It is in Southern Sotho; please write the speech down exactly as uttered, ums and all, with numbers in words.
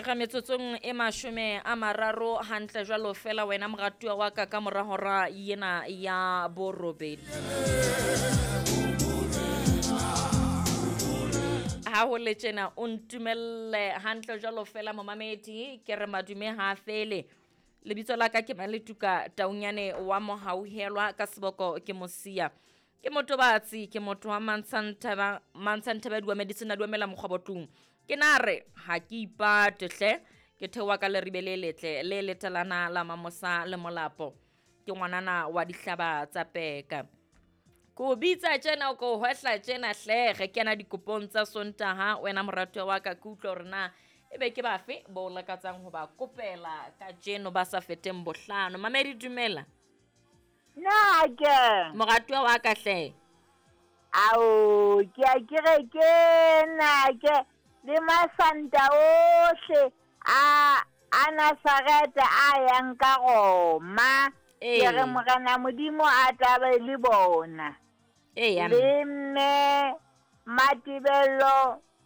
Re metsotsong e mashome a mararo hantle jwalo fela wena moratuwa wa ka ka mora hora yena ya borobedi. Ha ho le tjena o ntumelle hantle jwalo fela momamedi ke re madume ha fele. Lebitso la ka ke Maletuka Taunyane wa Mohauhelwa ka seboko ke Mosia. Ke motobatsi ke motho wa Mantshantaba Mantshantaba dua medicine a duamela mokgwabotlung. Ke na re ha ke ipate hle ke theoha ka leribe le letle le letalana la Mamosa le Molapo. Ke ngwanana wa dihlaba tsa peka. Ko bitsa tjena ko hwehla tjena hle re kena dikopong tsa Sontaha wena moratuwa wa ka ke utlwa hore na ebe ke bafe bo lakatsang ho ba kopela kajeno ba sa feteng bohlano. Mamedi dumela. Na ke Moratuwa wa ka hle. Ao ke a ke re ke na ke le masanta ohle a a Nazareta a yang ka Roma. Ee. Ke re Morena Modimo a tlabe le bona. Ee, Le mme Matibello